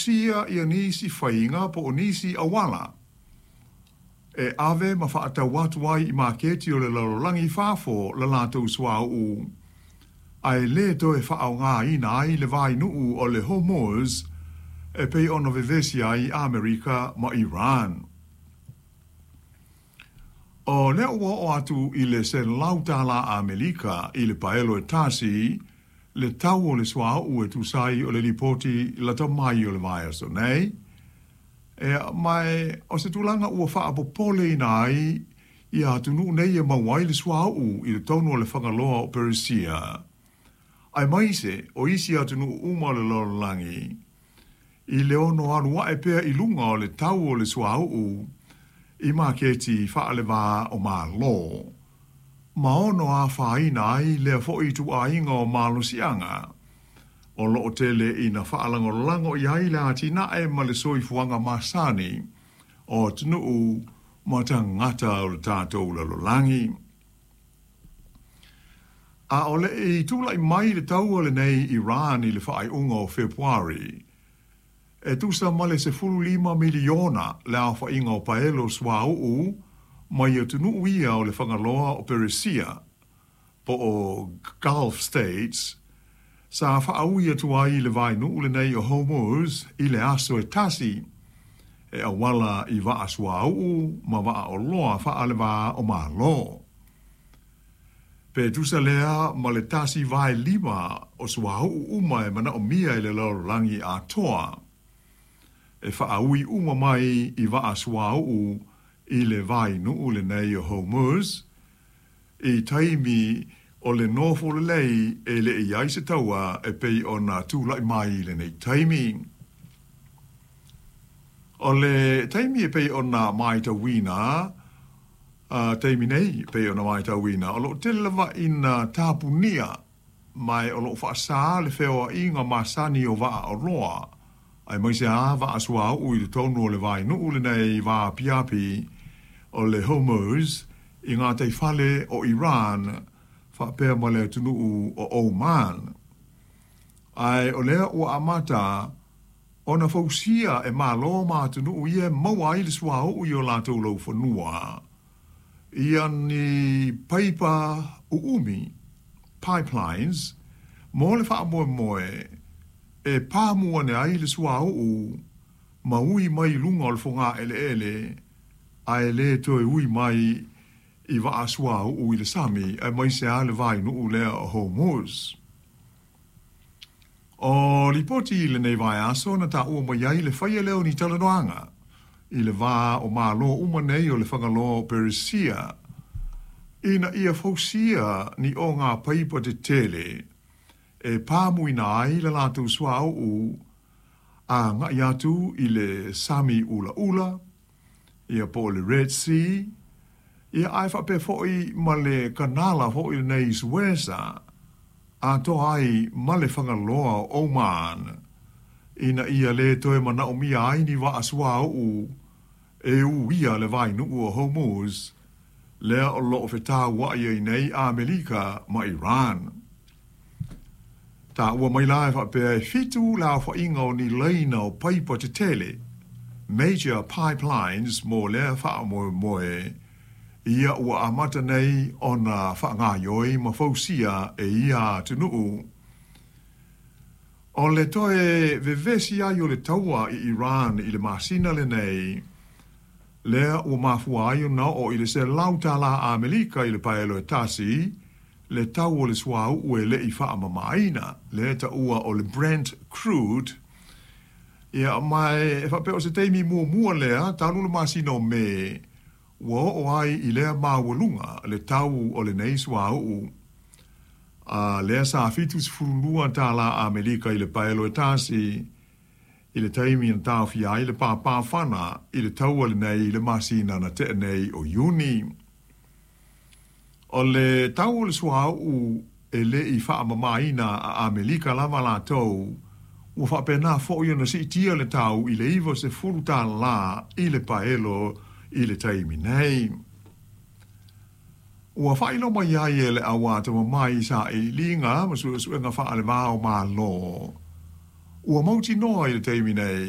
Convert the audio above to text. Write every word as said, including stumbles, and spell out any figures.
fausia ia nisi faiga po o nisi auala e ave ma faatau atu ai i maketi o le lalolagi i fafo le latou suauu ae lē toe faaaogāina ai le vainuu o le Hormuz e pei ona vevesi ai Amerika ma Iran. O lea ua oo atu i le selau tālā Amerika i le paelo e tasi le tau o le suauu e tusa ai o le lipoti lata mai o le vaiaso nei. E ma o se tulaga ua faapopoleina ai ia atunuu nei e maua ai le suauu i totonu o le fagaloa o Peresia, aemaise o isi atunuu uma o le lalolagi, i le ono alu ae pea i luga o le tau o le suauu i maketi faalevā o Malo, ma ono afaina ai lea foi ituaiga o malosiaga o loo tele ina faalagolago i ai le atinae ma le soifuaga masani o atunuu ma tagata o le tatou lalolagi. A o le i tulai mai le taua lenei Iran i le faaiuga o Fepuari, e tusa ma le sefulu lima miliona le aofaiga o paelo suauu mai atunuu ia o le fagaloa o Peresia po o Gulf States sa faaui atu ai le vainuu lenei o Hormuz i le aso e tasi e auala i vaa suauu ma vaa oloa faalevā o Malo. Pe tusa lea ma le tasi vae lima o suauu uma e manaomia i le lalolagi atoa e faaui uma mai i vaa suauu i le vainuu lenei o Hormuz i taimi o le nofo lelei e le i ai se taua e pei ona tulai mai lenei taimi. O le taimi e pei ona matauina, uh, taimi nei e pei ona matauina, o loo tele lava ina tapunia ma o loo faasā le feoaiga masani o vaa oloa aemaise a vaa suauu i totonu o le vainuu lenei vaapiapi o le Hormuz i gataifale o Iran faapea ma le atunuu o Oman. Ae o lea ua amata ona fausia e Malo ma atunuu ia e maua ai le suauu i o latou laufanua ia ni paipa uumi, pipelines, mo le faamoemoe e pamu ane ai le suauu ma ui mai i luga o le fogaeleele ae lē toe ui mai i vaa suauu i le sami aemaise a le vainuu lea o Hormuz. O lipoti i lenei vaiaso na taua mai ai le faia lea o ni talanoaga i le va o Malo uma nei o le fagaloa o Peresia ina ia fausia ni ogapaipa tetele e pamuina ai le latou suauu agai atu i le Sami Ulaula ia po o le Red Sea ia ae faapea foi ma le kanala foi lenei Suesa atoa ai ma le fagaloa o Oman ina ia lē toe manaomia ai ni vaa suauu e uia le vainuu o Hormuz lea o loo fetauai ai nei Amerika ma Iran. Taua mai la e faapea e fitu le aofaiga o ni laina o paipa tetele, major pipelines, mo lea faamoemoe ia ua amata nei ona faagaioi ma fausia e ia atunuu. O le toe vevesi ai o le taua i Iran i le masina lenei lea ua mafua ai ona oo i le selau tālā Amerika i le paelo e tasi le tau o le suauu e le i faamamaina lea taua o le Brent crude. Ia ma e faapea o se taimi muamua lea talu le masina o Me ua oo ai i lea maualuga le tau o lenei suauu a lea sa fitu sefulu lua tālā Amerika i le paelo e tasi i le taimi na taofia ai le pāpāfana i le taua lenei i le masina na tea nei o Iuni. O le tau o le suauu e le i faamamaina a Amerika lava latou ua faapena foi ona siitia le tau i le iva sefulu tālā i le paelo i le taimi nei. Ua faailoa mai ai e le au atamamai i sailiiliga ma suesuega faalevā o Malo ua mautinoa i le taimi nei